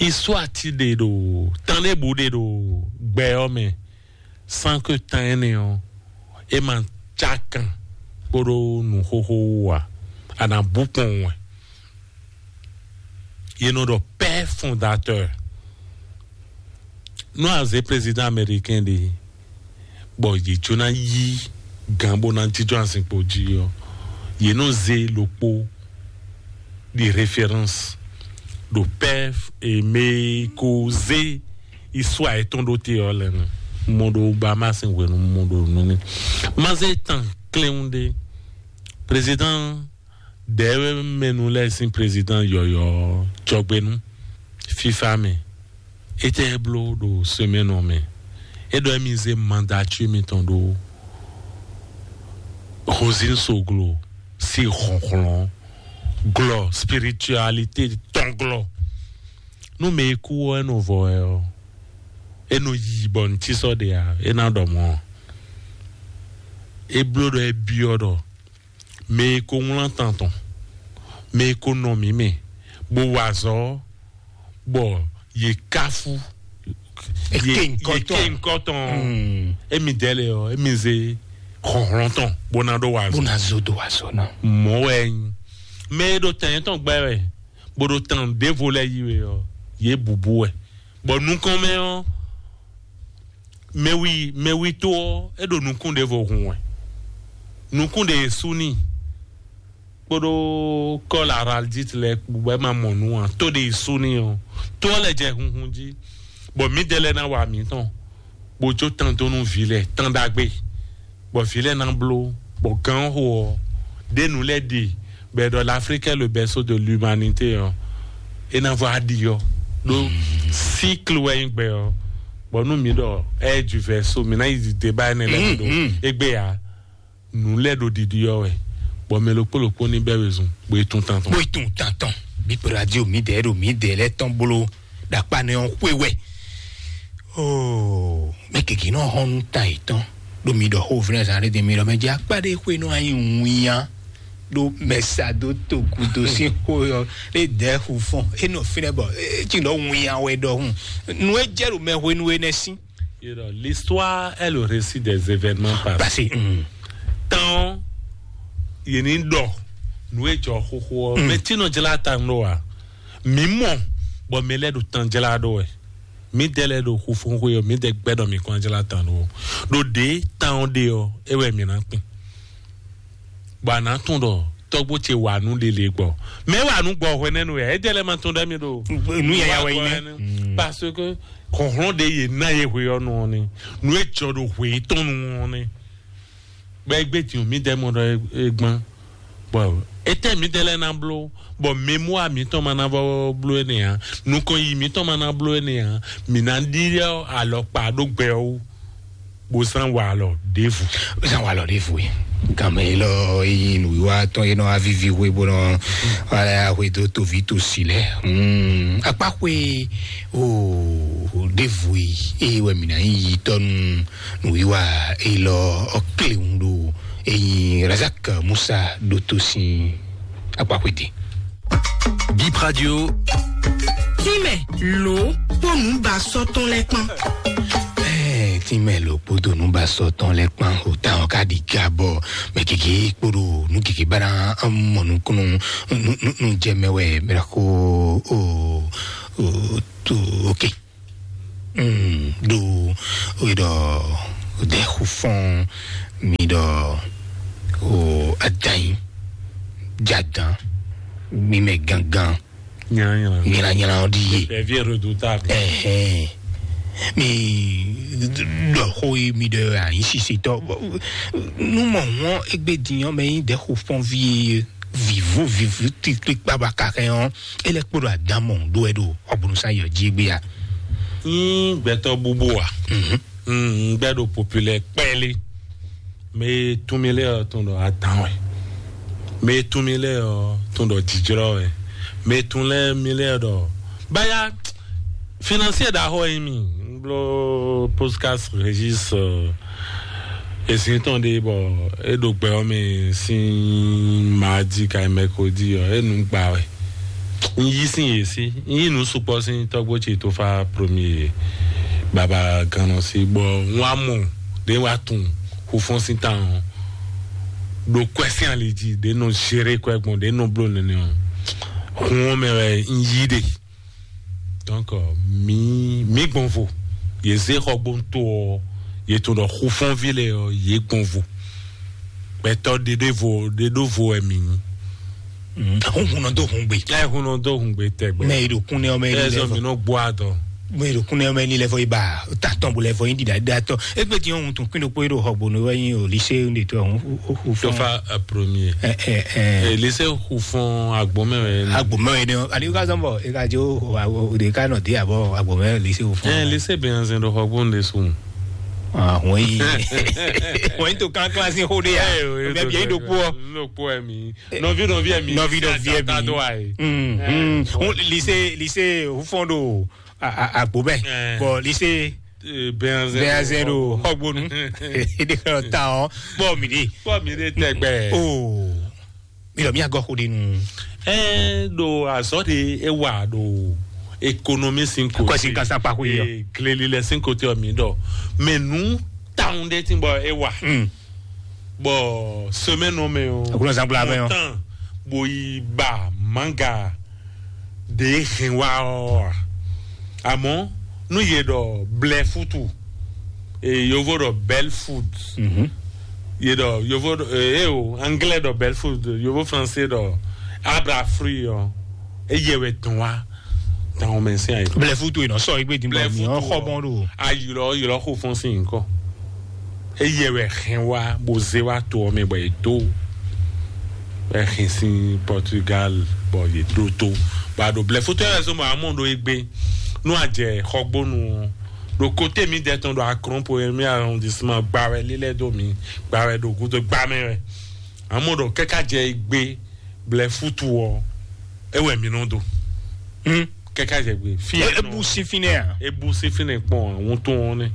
Isu ati ɖe ɖo tán ɖe bu ɖe ɖo gbɛ ɔ mɛ. San ke tan ɛnɛ ɔ e ma ca kan kpóɖó nu xóxó wú a a na bú kpɔn wɛ. Ye nɔ ɖɔ père fondateur. Nú a zě président américain ɖe bɔ yě jó ná yí gǎn bó ná jínjɔ́n azinkpo jí ɔ́, yě nɔ zé ɖokpó ɖi référence ɖo père e mɛ ko zé isua yětɔn ɖó te ɔ́ lɛ́ɛ nu. Mo ɖo Bahamas hwenu mo ɖo nu n'i. Ma zé tan klɛ́nwún ɖé. Président ɖɛ̌ mɛnu lɛ́ɛ sín président yɔ̌yɔ́ jɔgbénu fífá mɛ. Étɛ́ bló ɖo semaine ɔ́ mɛ? É ɖɔ émí zé mandature mitɔn ɖó Rosine Soglo sí hlɔ̌nhlɔ́n glɔ spiritualité tɔn glɔ. Nú mɛ e kú ɔ́ é nɔ vɔ wɛ ɔ́, é nɔ yi bɔ nǔ cí sɔ́ ɖe ǎ, é ná ɖɔ mɔ̌ ɔ́. É bló ɖɔ é byɔ́ ɖɔ mɛ e ko wlán tan tɔn, mɛ e ko nɔ mǐ mɛ, bó wa azɔ̌, bɔ yě káfú Eke yě- ŋkɔ yě tɔn. Ké ŋkɔ tɔn. Émi dɛ́ lɛ ɔ́, émi zé hlɔ̌nhlɔ́n tɔn bó ná ɖó wa Bó azɔ̌. Na zo do azɔ̌ ná. Mɔ̌ wɛ é nyí. Mɛ e ɖo tɛn yětɔn gbɛ wɛ, bó ɖo tan ɖěvo lɛ́ɛ yí wɛ ɔ́, yě bǔbú wɛ. Bɔ nukɔn mɛ ɔ́, mɛwi mɛwi tó ɔ́, é ɖo nukún ɖěvo hun wɛ. Nukún ɖě sú n'i kpóɖó kɔ́ la araldite lɛ́ɛ kpó bɔ é ma mɔ nǔ ǎ. Tó ɖě sú n'i ɔ́, tó ɔ́ lɛ́ jɛ hunhun jí, bɔ mǐdɛɛ lɛ́ɛ ná wa mǐtɔn, bó jó tán dó nú vǐ lɛ́ɛ tán ɖagbe, bɔ vǐ lɛ́ɛ ná bló, bɔ gǎn xo ɔ́, ɖě nǔ lɛ́ɛ ɖe bɔ è ɖɔ l'Afrique est le berceau de l'humanité ɔ́, é ná vɔ aɖi ɔ́ ɖó cycle wɛ nyí gbɛ ɔ́. Bɔ nú mǐ ɖɔ ɛ du verso mǐ ná yi débat énɛ́ lɛ́ɛ ɖo égbé ǎ. Nǔ lɛ́ɛ ɖo ɖiɖi ɔ́ wɛ, bɔ mɛ ɖokpó ɖokpó ní bɛ́ wezun bó yi tún tantɔn. Bó yi tún tantɔn. Bí radio mǐdɛɛ ɖo mǐdɛɛ lɛ́ɛ tɔn bló. ɖo akpa nɛ ɔ́ xwe wɛ. Oo, mɛ gěgé nɔ hɔn nú ta yětɔn ɖo mi ɖɔ xó vlɛ́ zan ɖé mi ɖɔ mɛ jɛ akpa ɖé xwe nɔ anyi winyan ɖo mɛ sa dó togudo sín xó yɔ ɖé dɛ̌ xu fɔn é nɔ fínɛ́ bɔ é cí ɖɔ winyan wɛ ɖɔhun nú é jɛ ɖo mɛ hwenu énɛ́ sín. You know, l'histoire est le récit des événements passés. Passé. Mm. Tán yìí ní ɖɔ nú é jɔ xóxó ɔ́, mɛ tí nɔ jlá ta nɔ wa. Mǐ mɔ bɔ mɛ lɛ́ɛ ɖo tán jlá ɖó wɛ. Mǐdɛɛ lɛ́ɛ ɖo xu fɔ́n xwe ɔ́, mǐdɛɛ gbɛ́ ɖɔ mǐ kɔn jlá ta ɖó ɔ́. Ɖo ɖě tán ɔ́ ɖe ɔ́, é wɛ mǐ ná kpin. Bɔ a nǎ tunwun ɖɔ tɔ́gbó ce wa nǔ ɖe lě gbɔ. Mɛ wa nǔ gbɔ hwɛ nɛ́ nu wɛ, é jɛ lɛ́ ma tunwun ɖɔ mì ɖo. Nǔ yaya wɛ nyí nɛ́. Parce que hlɔ̌nhlɔ́n ɖe yě ná yě hwe ɔ́ nu ɔ́ ni. Nǔ e jɔ ɖo hwe yětɔn nu ɔ́ ni. Bɔ é gbé din mǐdɛɛ mɔ ɖɔ é gbɔn. Bɔ étɛ́ mǐdɛɛ lɛ́ɛ ná bló, bɔ mɛmúa mǐtɔn ma ná vɔ bló énɛ́ ǎ, nukɔn yi mǐtɔn ma ná bló énɛ́ ǎ, mǐ ná ɖyɔ́ alɔkpa ɖó gbɛ ɔ́ wú, bó zán wa alɔ ɖěvo. Zán wa alɔ ɖěvo e. Gǎnmɛ élɔ́ e nyí nǔwiwa tɔn e nɔ wá víví hwe bó nɔ wá lɛ́ axwe dó toví tosi lɛ́ɛ. Hmm, akpáxwe o ɖěvo e, eye wɛ mǐ ná nyí yitɔ́ nú nǔwiwa élɔ́ ɔ́ kléwún ɖo e nyí Razak Musa ɖótó sín akpáxwédí. Bip Radio. Tínmɛ lǒ kpó nǔbasɔ́ tɔn lɛ́ɛ kpán. Ɛɛ, tínmɛ lǒ kpódó nǔbasɔ́ tɔn lɛ́ɛ kpán. O táwọn ká ɖi ga bɔ mɛ gěgé kpódó nú gěgé bá ná mɔ nukúnnú nú jɛ mɛ wɛ mɛ ko o o to. Ok. Mm, ɖo ɖɔ ɖe xu fɔn mi ɖɔ o adanyi jadan mi mɛ gangan. Nyanya. Nyanya ɔ́ ɖi ye. Ɛvi redoutable. Ɛhɛn. Mi ɖɔ xó yi mi ɖɔ anyi sisitɔ. Nu mɔ hɔn egbe diyan mɛ yi ɖe xu fɔn vi ye. Vivo vivo titli kpaba kakɛ ɔn. Ele kpo ɖo adan mɔ ɖo ɛ ɖo ɔgbɔnusá yɔ jí gbé ya. Yín gbɛtɔ bubu wa. Mhm. Mm, gbɛ ɖo populaire kpɛli. Mɛ tún mi lɛ ɔ tún ɖɔ adan wɛ. Mɛ tún mi lɛ ɔ tún ɖɔ jijrɔ wɛ. Mɛ tún lɛ mi lɛ ɖɔ baya. Financier ɖaxɔ yi mi. N bló podcast Régis. Ezin tɔn ɖe bɔ e ɖo gbɛ ɔ́ mɛ sín maadi ka mɛkodi ɔ e nu gba wɛ. N yí sín yě sí, n yí nu sukpɔ sín tɔgbo ce tó fa premier baba gannɔ sí bɔ n wá mɔ ɖe wá tun xufɔn sín tan ɔ ɖo kwɛ sín ali jí ɖe nɔ zere kwɛ gbɔn ɖe nɔ blo nene ɔ hun ɔ mɛ wɛ n yí ɖe. Donc, mi mi gbɔn vo. Ye zé xɔgbóntó ɔ, ye to ɖɔ xufɔnvi lɛ ɔ, ye gbɔn vo. Gbɛtɔ ɖeɖe vo ɖeɖo vo wɛ mi nyi. Hun hun nɔ do hun gbe. Ɛ hun nɔ do hun gbe tɛgbɛ. Mɛ yi ɖo kún nɛ ɔmɛ yi lɛ fɔ. Ɛzɔ mi nɔ gbɔ adɔ. Mɛ yi ɖo kún nɛ ɔmɛ yi lɛ fɔ yi ba tatɔn bo lɛ fɔ yi ɖiɖa ɖiɖa tɔ. Egbe ti hun tun kún ɖokpó yi ɖo xɔgbónu wɛ yi o lycée de to hun. Tofa premier. Ɛ ɛ ɛ. Lycée xufɔn agbɔmɛ wɛ. Agbɔmɛ wɛ ne. Ali ka zɔn bɔ e ka jo o de ka nɔ de abɔ agbɔmɛ lycée xufɔn. Ɛ lycée bɛ yan zɛn ɖo xɔgbónu de sun. Ah, wọ́n yìí wọ́n yìí tó kánkán sí hóde yá. Mɛ bìí ɖokpó ọ. Lókpó ẹ mi. Nɔvi nɔvi ẹ mi. Nɔvi nɔvi ẹ mi. Tado ayi. Lycée lycée hufɔn do agbo bɛ. Bɔn lycée bɛnzɛn do xɔgbonu. Ede kɔ ta ɔ bɔ mi de. Bɔ mi de tɛgbɛ. Oo. Mi lɔ mi agɔ xo de nu. Ɛ do azɔ de e wa do économie sin ko. Kɔsi kasa kpako yi ɔ. Gleli lɛ sin ko te ɔ mi dɔ. Mɛ nu taun de ti bɔ e wa. Bɔ semaine ɔ mɛ ɔ. Akunɔ zangbla mɛ ɔ. Tan bo yi ba manga de hɛn wa ɔ. Amɔ nu ye dɔ blɛ futu. E yovo dɔ belle food. Ye dɔ yovo dɔ e o anglais dɔ belle food, yovo français dɔ abra fruit ɔ. E yɛ wɛ tɔn wa. Tan o mɛ sin ayi. Blɛ futu yi nɔ sɔ igbe di blɛ futu ɔ xɔ bɔn do. Ayi lɔ yi lɔ xo fɔn sin nkɔ. Eye wɛ hɛn wa bo ze wa to ɔmɛ bɔ e do. Wɛ hɛn sin Portugal bɔ ye do to. Ba do blɛ futu yɛ zɔn bɔ amɔ do egbe. Nu a jɛ xɔgbonu. Do kote mi dɛ tɔn do akrɔn po mi arrondissement gba wɛ lilɛ do mi gba wɛ do gudo gba mɛ wɛ. Amɔ do kɛka jɛ egbe blɛ futu ɔ. E wɛ mi nɔ do. Hmm. Kɛkɛ jɛ gbe. Fi e bu si fínɛ a? E bu si fínɛ kpɔn àwọn tó wọn nɛ.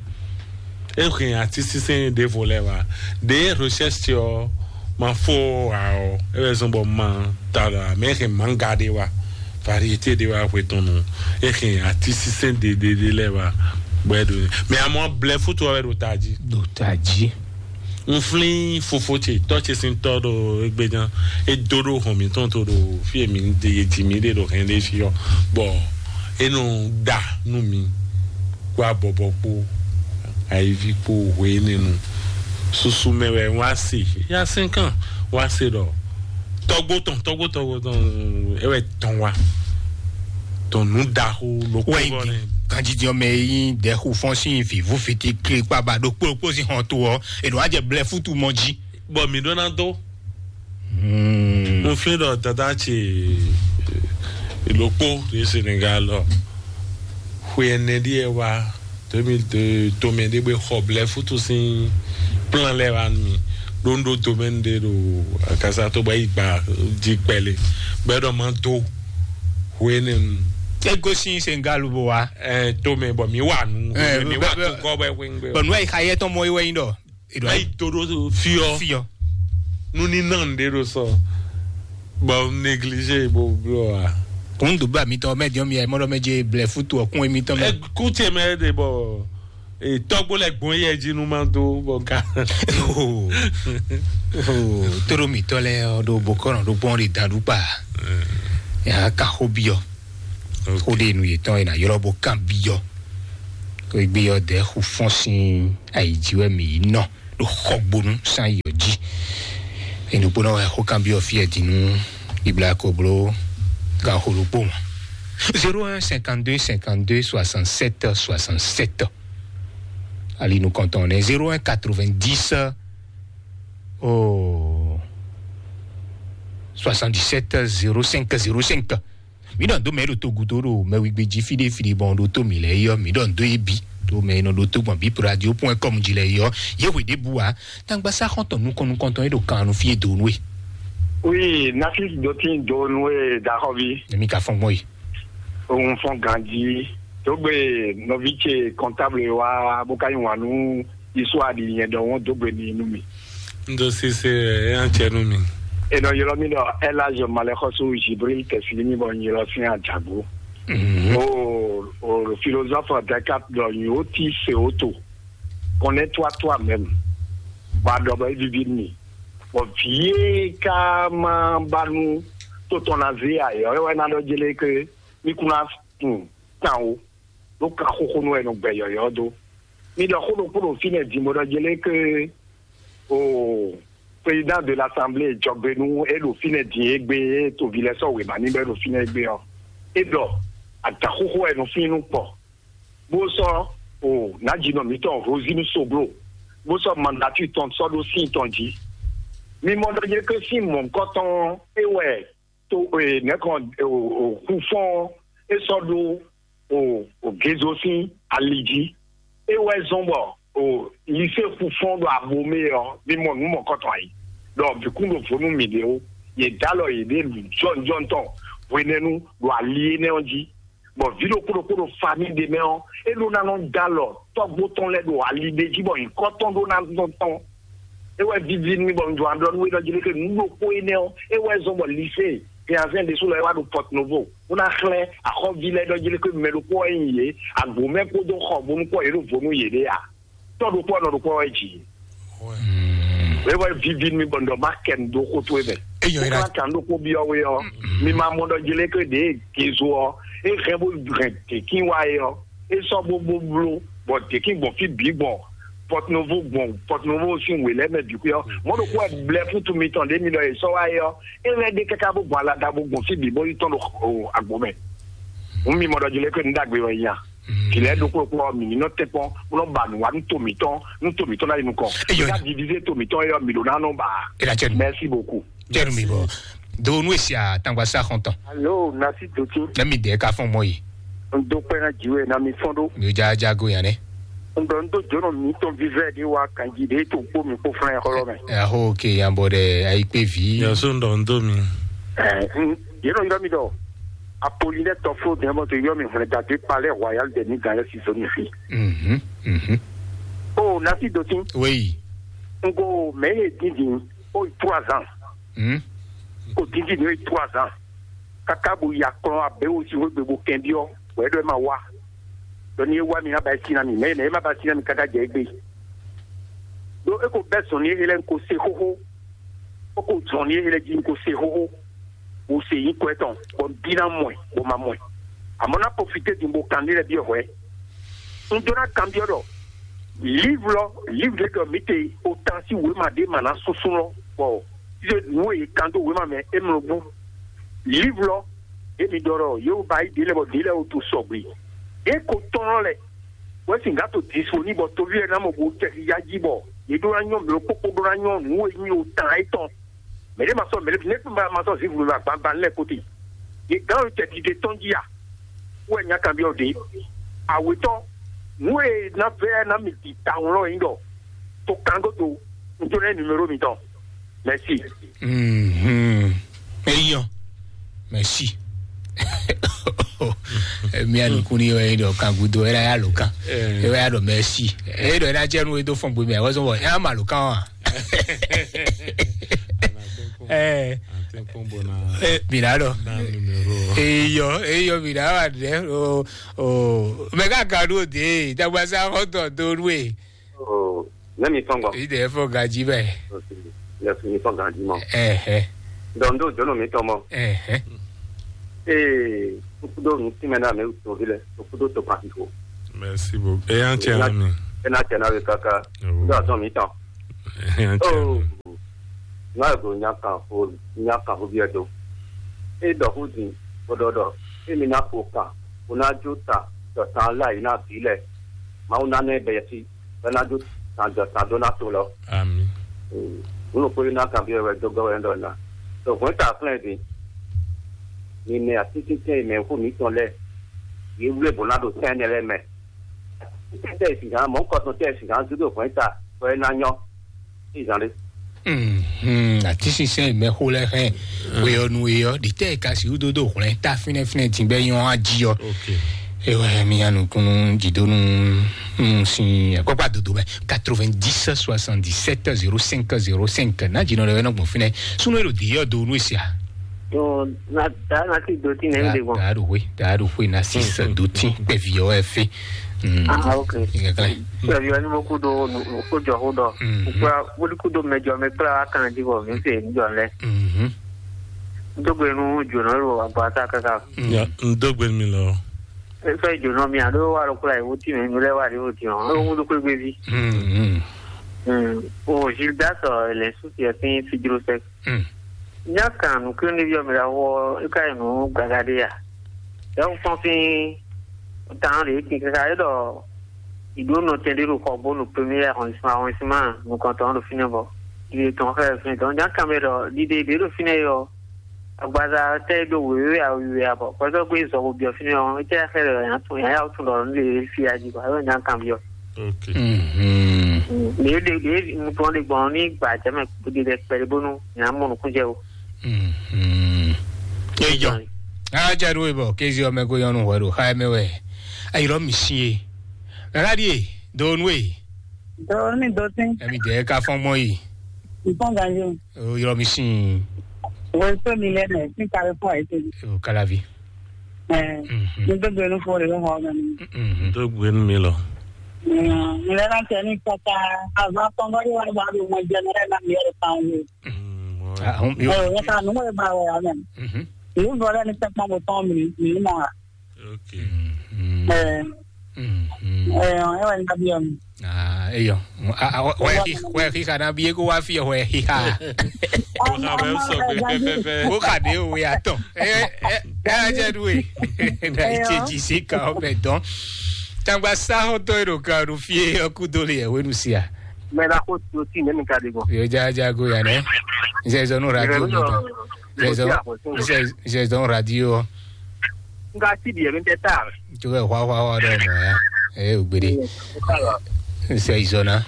E hɛn ati sísɛn ɖe vo lɛ wa. De recherche ɔ ma fo a ɔ. E bɛ zɔn bɔ ma ta la mɛ hɛn manga ɖe wa. Variété ɖe wa hwe tɔn nu. E hɛn ati sísɛn ɖe ɖe ɖe lɛ wa. Bɔ e ɖo. Mais amɔ blɛ foto wɛ ɖo taji. Ɖo taji. N flín fofo ce tɔ́ ce sín tɔ́ ɖo égbé gán. É dó ɖó hɔn mǐtɔn tó ɖo fí e mǐ ɖe e ji mǐ ɖe ɖo hɛn ɖé fí ɔ́, bɔ é nɔ ɖa nú mǐ kpó abɔbɔ kpó ayíví kpó hwe énɛ́ nu. Susu mɛ wɛ wá se yá sɛ́nkán wá se ɖɔ tɔ́gbó tɔn tɔ́gbó tɔ́gbó tɔn é wɛ tɔn wá tɔn nǔ ɖaxó lókpó wɛ gɔ́ nɛ. Ganjidí ɔmɛ yín dɛxu fɔ́n sín vǐvú fiti klikpaba ɖokpó ɖokpó sín hɔn to ɔ́, è nɔ wá jɛ blɛ fútu mɔ jí. Bɔ mǐ ɖó ná dó. Mo flín ɖɔ dada ce lókpó ɖe Senegal ɔ xwe ɛnɛ ɖíe wá deux mille deux tomɛ ɖé gbé xɔ blɛ fútu sín plan lɛ́ wá nú mì ɖó ń ɖó domaine ɖé ɖo akasa tó bɔ yi gba jí kpɛlɛ bɔ é ɖɔ má dó hwenɛnu. É gosín Senegal bó wa. Ɛ tomɛ bɔ mi wà nù mi wà tó kɔ bɔ ẹ wéngbé. Bɔn nua yi xa yɛ tɔn mɔ iwɛ yin dɔ. Ayi to ɖo fiɔ Fiɔ. Nu ní nɔ ŋɖe ɖo sɔ bɔ négligé bó blɔ wa. Kún dùbà mi tɔn mɛ diɔ mi ɛ mɔdɔ mɛ je blɛ futu ɔkún emi tɔn mɛ. Ɛ kú tiɛ mɛ ɖe bɔ tɔgbo lɛ gbɔn yɛ jí nu ma dó bɔ ká. Tóɖó mǐtɔ́ lɛ́ɛ ɔ́ ɖo bokɔ́nɔ ɖó gbɔn ɖe dan ɖú kpa. Yà á ka xó byɔ́. Xó ɖé nu yětɔn è nǎ ylɔ́ bó kan byɔ́. Xó gbé ɔ́ dɛ̌ xu fɔ́n sín ayǐ jí wɛ mǐ yi nɔ ɖo xɔgbónú sín ayǐ ɔ́ jí. È nǔgbó náà wɛ xó kan byɔ́ fí ɛ din nú Ibla ko bló gan xó ɖokpó mɔ. Zéro un cinquante-deux cinquante-deux soixante-sept soixante-sept. Ali nukɔntɔn nɛ zéro un quatre-vingt-dix oh, soixante-dix-sept zéro cinq zéro cinq. Mi ɖɔ dó mɛ ɖo togudo ɖo mɛwigbe jí fiɖe fiɖe bɔn ɖo tó mi lɛ yɔ mi ɖɔ dó ebi ɖo mɛ nɔ ɖo tó gbɔn bip radio point com jí lɛ yɔ. Yé hwe ɖe bu wa tangba sa xɔntɔn nukɔn nukɔntɔn e ɖo kan nu fie do nue. Oui, Nafis dotin do nue daxɔvi. Emi ka fɔn gbɔn yi. Òun fɔn ganji. Dogbe nɔvi ce comptable wa bó ka nyi wàn nú isu aɖi nyɛ ɖɔ wọn dogbe ni nú mi. N ɖo sise ɛ yán cɛ nú mi. Enɔ ylɔ mi ɖɔ Elage Malexɔsu Jibril Tɛsilimi bɔ n ylɔ sin Adjagbo. O o philosophe Descartes ɖɔ nyɔ ti se o to connais-toi toi-même. Ba ɖɔ bɔ evivi mi. Bɔ vie ka ma ba nu to tɔn na ze ayɔ ewɛ na ɖɔ jele ke mi kuna kun tan o. Ɖo kan xóxó nú wɛ nɔ gbɛ yɔyɔ dó. Mi ɖɔ xó ɖokpó ɖo fínɛ́ din bó ɖɔ jɛ lé ké o président de l'assemblée jɔgbe nú é ɖo fínɛ́ din é gbé é tovi lɛ sɔ́ wěma ní bɔ é ɖo fínɛ́ é gbé ɔ́. É ɖɔ adǎn xóxó wɛ nɔ fín nú kpɔ. Bó sɔ́ o nǎjínɔ mǐtɔn Rosinu Soglo bó sɔ́ mandatu tɔn sɔ́ ɖó sín tɔn jí. Mi mɔ ɖɔ jɛ ké sín mɔ̌hunkɔtɔn é wɛ to nɛkɔn xufɔn é sɔ́ ɖó o o gezo sín ali jí. É wɛ zɔn bɔ o lise xufɔn ɖo abomé ɔ́, mi mɔ nǔ mɔkɔtɔn ayi. Ɖɔ bǐkún ɖo vo nú mi ɖě ó. Yě dó alɔ yěɖée jɔnjɔn tɔn hwenɛ́nu ɖo ali énɛ́ ɔ́ jí. Bɔ vǐ ɖokpó ɖokpó ɖo famí ɖé mɛ ɔ́, é ɖó ná nɔ dó alɔ tɔ́gbó tɔn lɛ́ɛ ɖo ali ɖé jí bɔ nyǐkɔ tɔn ɖó ná nɔ tɔn. É wɛ víví nú mì bɔ un jɔ aɖɔ nú we ɖɔ jí lé ke nǔ ɖokpó énɛ́ ɔ́, é wɛ zɔn bɔ lise Piazɛn ɖésú lɔ é wá ɖo Pɔt Novo, bó ná xlɛ́ axɔ́ví lɛ́ɛ ɖɔ jí lé ke mɛ ɖokpó wɛ nyi yě, agbǒmɛ kpódó xɔ bónú kpɔ́ yě ɖo vo nú yěɖée a? Tɔ́ ɖokpó ɔ́ nɔ ɖokpó wɛ jǐ. É wɛ víví nú mì bɔ un ɖɔ má kɛ nu dó xó towe mɛ. Eyɔ é ɖa. Kókó kan ɖokpó byɔ́ we ɔ́, mi ma mɔ ɖɔ jí lé ke ɖě gezo ɔ́, é hɛn bó hɛn děkín wá é ɔ́, é sɔ́ bó bó bló, bɔ děkín gbɔn fí bǐ gbɔn Pɔtinovo gbɔn Pɔtinovo sín wě lɛ́ɛ mɛ bǐ xwé ɔ́, mɔ̌ ɖokpó wɛ blɛ́ fútu mitɔn ɖě mi ɖɔ è sɔ́ wá é ɔ́, é lɛ́ ɖe káká bó gbɔn alada bó gbɔn fí bǐ bó yi tɔ́n ɖo agbo mɛ. Hǔn mi mɔ ɖɔ jí lɛ́ ké nǔ ɖagbe wɛ nya. Vǐ lɛ́ɛ ɖokpó ɖokpó ɔ́, mǐ ní nɔ tɛ́nkpɔ́n bó nɔ ba nǔ wá nú to mǐtɔn, nú to mǐtɔn ná yi nukɔn. Eyɔ. Ká divize to mǐtɔn é ɔ́, mǐ ɖó ná nɔ ba. É ná cɛ nú. Merci beaucoup. Cɛ nú mi bɔ. Do nú esi atangba sa xɔntɔn. Alo, nasi dotin. Ne mi dɛ ka fɔn mɔ yi. N do kpɛ na jiwe na mi fɔn do. Mi ja ja go yan ne. N dɔ n do jono mi tɔn vivɛ de wa kanji de to kpo mi kpo flan xɔlɔ mɛ. Ɛ ho ke yan bɔ dɛ ayi kpe vi. Yaso n dɔ n do mi. Ɛ n yeno yɔrɔ mi dɔ. Apolinɛ tɔfó dɛn bɔ to yɔ mi hwlɛ dade palɛ royal de ni gan yɛ si zoni fi. Mhm, mhm. O nasi dotin. Oui. Ngo mɛ ye dindin o trois ans. Hmm. O dindin o trois ans. Kaka bo ya klɔn abe o si wegbe bo kɛn biɔ. Wɛ do ma wa. Dɔnni ye wa mi na ba si na mi mɛ mɛ ma ba si na mi kaka jɛ egbe. Do e ko bɛ zɔn ni e lɛ ko se xoxo. O ko zɔn ni e lɛ ji ko se xoxo. Wo se yi kwɛ tɔn bɔ n bi ná mɔ ɛ bɔ ma mɔ ɛ. Àmọ́ ná profité din bó kan ní lɛ byɔ́ hwɛ. Un jɔ ná kanbyɔ́ ɖɔ livre lɔ livre ɖé ɖɔ mǐ te o tan sí wěma ɖé ma ná súnsún lɔ bɔ ṣíṣe nǔ e kan dó wěma mɛ é mlɔ gbɔn. Livre lɔ èmi ɖɔ ɖɔ yóò bá yí délẹ̀ bɔ délẹ̀ o to sɔgbe. É ko tɔn lɔ lɛ wɛ sì gǎ to disponible bɔ toví ɛ ná mɔ bo tɛ ya jí bɔ yě ɖó ná nyɔ mlɔ kpókpó ɖó ná nyɔ nǔ e nyí o tan é tɔn. Mɛ ɖé ma sɔ mɛ ɖé ne ma ma sɔ zivu ma gbangban lɛ kote. Ye gan yo tɛ dide tɔn ji a? Wɛ nya kan biɔ de. Awetɔ nu e na vɛ na mi di tawun lɔ yin dɔ. To kan go to. N to ne numéro mi tɔn. Merci. Mhm. Eyɔ. Merci. Mia nukun ni yɔ yi dɔ kan gudo era ya lo kan. Era ya dɔ merci. E dɔ era jẹ nu e do fɔn gbe mi a wazɔn bɔ ya ma lo kan wa. Eh, eh, mi na dɔ. Eyɔ eyɔ mi na wa dɛ o o mɛ ka ka ɖo de dagbasa xɔtɔ do nu e. Ne mi tɔn gbɔ. Yi dɛ fɔ gaji bɛ. Ne mi tɔn gaji mɔ. Ɛhɛ. Donc ndo jono mi tɔn mɔ. Ɛhɛ. Ee kukudo mi ti mɛ na mi tovi lɛ kukudo to pa fifo. Merci beaucoup. E yan cɛ na mi. E na cɛ na we kaka. Ndo azɔn mi tɔn. E yan cɛ na mi. Ŋa go nya kan xo nya kan xo biɛ do. E dɔ xo din ko dɔ dɔ e mi na ko kan ko na jo ta dɔ tan la yi na vi lɛ. Mawu na nɛ bɛ yɛsi bɛ na jo tan dɔ tan do na to lɔ. Ami. Wolo ko na kan biɛ wɛ do gɔ wɛ dɔ na. To hwɛ ta flɛ din. Mi mɛ asisitɛ mɛ xo mi tɔn lɛ. Ye wle bo na do tɛn ne lɛ mɛ. Tɛ sigan mɔ kɔsɔn tɛ sigan judo hwɛn ta kɔ ɛ na nyɔ. Izan ɖe. Mhm. Ati sinsɛn mɛ xo lɛ hɛn. Weyɔnu eyɔ ɖi tɛ ka si wúdodo hwlɛn ta fínɛfínɛ tìgbɛ yɔn aji yɔ. Ok. Ewɛ mi ya nukunu jidonu. Sin akpakpa dodo mɛ quatre-vingt-dix soixante-dix-sept zéro cinq zéro cinq na jinɔ ɖe wɛ nɔ gbɔn fínɛ sunu ero di yɔ do nu sia. Yo, na da na ti do ti nɛ mi de gbɔn. Daa ɖo hwe, daa ɖo hwe na six do ti kpɛvi yɔ wɛ fe. Ah, ok. Kɛkɛ. Kpɛvi yɔ ni mo ku do nu ko jɔ ko dɔ. Kura wuli ku do mɛ jɔ mɛ kpla wa kan di bɔ mi se ni jɔ lɛ. Dogbe nu jona lo agba ta kaka. Ya, n dogbe mi lɔ. Fɛ jona mi a do wa lo kpla yi wuti mɛ mi lɛ wa di wuti ɔ. Lo wudu kwe gbe vi. O Gildas ɔ lɛ susi ɛ fin fidro sɛ. N yá kan nǔkíní ví ɔ́ mi ɖaxó ɔ́, é ká yi nǔ gaga ɖé a? Ɖɛ̌ un fɔ́n sín tan ɖě kin káká é ɖɔ ìɖó nɔtɛn ɖé ɖo xɔ bó ɖo premier arrondissement arrondissement nukɔntɔn ɖo fínɛ́ bɔ ɖiɖe tɔn xlɛ́ ɖo fínɛ́ tɔn. Ján kan mɛ ɖɔ ɖiɖe ɖě ɖo fínɛ́ é ɔ́, agbaza tɛ́ é ɖó wěwé awiwe abɔ kpɔ́tɔ́ gbé zɔ bo byɔ́ fínɛ́ ɔ́, é tɛ́ xlɛ́ ɖɔ yǎ tún yǎ yá tún ɖɔ nǔ ɖě fí ají bɔ é nyá kan byɔ́. Ok. Mhm. Ɖě ɖě ɖě nukplɔ́n ɖé gbɔn ní gbà jẹ́ mɛ kpódé ɖɛ kpɛɖé bónú nyà mɔ nukún jẹ́ o. Mhm. Eyɔ. Aja ɖo ebɔ kézi ɔmɛ ko yɔnu hwɛ ɖo xa ɛmɛ wɛ. Ayirɔ mi si ye. Nana ɖi ye do nu ye. Do ni do tin. Ɛmi dɛ ka fɔn mɔ yi. Nfɔn ganji. O yɔrɔ mi si. Wo so mi lɛ mɛ sin kare fɔ ayi tɛbi. O kalavi. Ɛɛ, n tó gbénu fún olè ló hàn ọ́nà mi. N tó gbénu mi lọ. N lè rántí ẹni kẹta, àbá pọ́nbọ́dé wà bá mi mọ jẹ mẹ́rẹ́ náà mi ẹ̀rọ pa òun. Ẹ ò yẹ ká nínú ìgbà wẹ̀ yà mẹ́. Ìlú bọ̀dọ̀ ní sẹ́pọ̀n kò tán mi, mi mọ̀ wá. Ẹ ẹ ẹ wà ní abiyọ mi. Ah, eyo. Wɛ xixa na bi eko wa fi wɛ xixa. Ko xa bɛ sɔ pɛpɛpɛ. Ko xa de o ya tɔn. Ɛ ɛ ɛ ɛ jɛ du e. Na itse dzi si ka o bɛ dɔn. Tangba sa xɔ tɔ ero ka o fi e ɔku do le yɛ wenu sia. Mɛ na ko to ti ne mi ka de gbɔn. Yo ja ja go ya nɛ. N sɛ zɔnu radio mi tɔn. N sɛ zɔnu radio. N ka ti di yɛ mi tɛ ta. N tɛ hwa hwa hwa dɔ mɔ ya. Ɛ o gbede. N sɛ izɔna.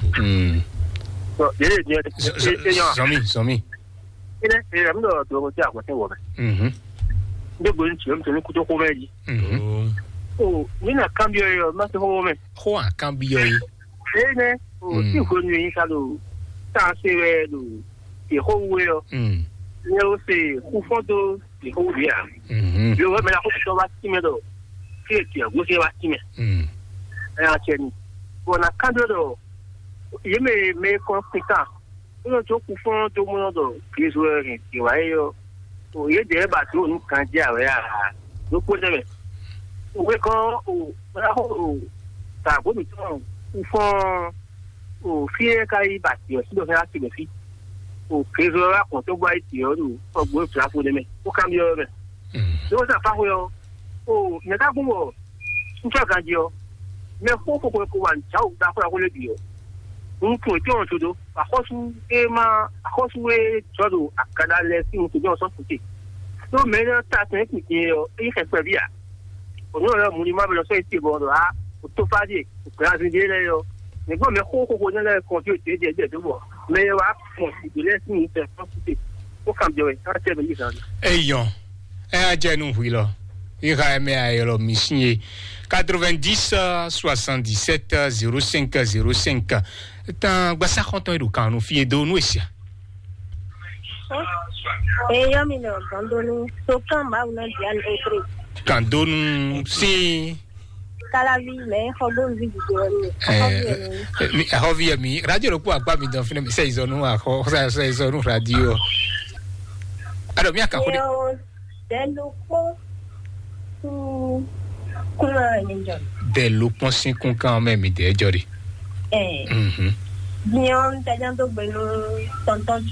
Zɔmi zɔmi. Mhm. Ndé gbé ntí ɔ́, mi tɛ́ ní kútó xó mɛ jí. Mhm. O, mi na kanbyɔ yɔ, ma se xó mɛ. Xó a kanbyɔ yi. Eye nɛ, o, Mm. Si hwenu yi ka ɖo tan se wɛ ɖo yexó wu wɛ ɔ. Mm. Ne o se xufɔ́n dó yexó wu ɖě a. Mhm. Yo wɛ mɛ la xó tɔ wá sí mɛ ɖɔ, fí e tiɛ gosín wá sí mɛ. Mm. Ɛ, a cɛ ni. Bɔn na kanbyɔ ɖɔ, yě mɛ mɛ kɔn kpin kan. Nínú tó kú fún tó múná ɖɔ Kristu wɛ hɛn dǐ wá é ɔ́, o yě dě ba dó nǔ kan jɛ awɛ a? Ɖokpó nɛ mɛ. O wé kɔn o o ta bó mi tɔn kú fún o fí é ka yí ba dǐ ɔ́ sí ɖɔ fẹ́ láti mɛ fí. O Kristu wɛ wá kɔn tó gbá yí dǐ ɔ́ ɖo sɔgbó fla fó nɛ mɛ. Ó ká mi ɔ́ mɛ. Ló wá sá fáxwé ɔ́, o nyɛ ká gún bɔ ŋutsu ganjí ɔ́, mɛ xó xóxó ko wà nǔ jǎ wǔ ɖaxó ɖaxó lɛ́ɛ bǐ ɔ́, un tunwun tɔ́n ɔ́ jó dó. Axɔ́sú e ma axɔ́sú e jɔ ɖo akada lɛ́ɛ sín nukún jɔ sɔ́ kúte. Ɖó mɛ énɛ́ ta tɛn kún din ɔ́, é nyí xɛkpɛví ǎ. Ònú ɔ́ mu ní má bɛ lɔ sɔ́ yi te bɔ ɖɔ á, ò tó fá ɖíe, ò gbɛ azin ɖé lɛ́ɛ ɔ́. Mɛ gbọ́n mɛ xó xóxó énɛ́ lɛ́ɛ kɔn fí òtě jɛ jɛ dó bɔ mɛ e wá kɔn ìdó lɛ́ɛ sín nǔ tɛ sɔ́ kúte. Ó kan jɔ wɛ, ká tɛ mɛ yí zan. Eyɔn, ɛ á jɛ nú hwi lɔ. Iha ɛmɛ ayɔlɔ mi sin ye. Quatre-vingt-dix, soixante-dix-sept, zéro cinq, zéro cinq. Tan gbasa xɔntɔn e ɖo kan nu fie do nu esia. Eyɔ mi nɔ gandonu so kan mawu na dia ni etre. Gandonu sin. Kalavi mɛ xɔgbonu vi didi wɛ mi. Eh, mi ahɔvi yɛ mi radio ɖo kpɔ akpa mi dɔn fínɛ mi sɛ izɔnu axɔ sɛ izɔnu radio. Alo mi akaxo de. Dɛlukpɔn sín kúnra mi jɔ. Dɛlukpɔn sín kúnkan mɛ mi dɛ jɔ de. Ɛɛ. Mhm. Diɲɛ ɔn tɛjá tó gbɛnu tɔntɔn.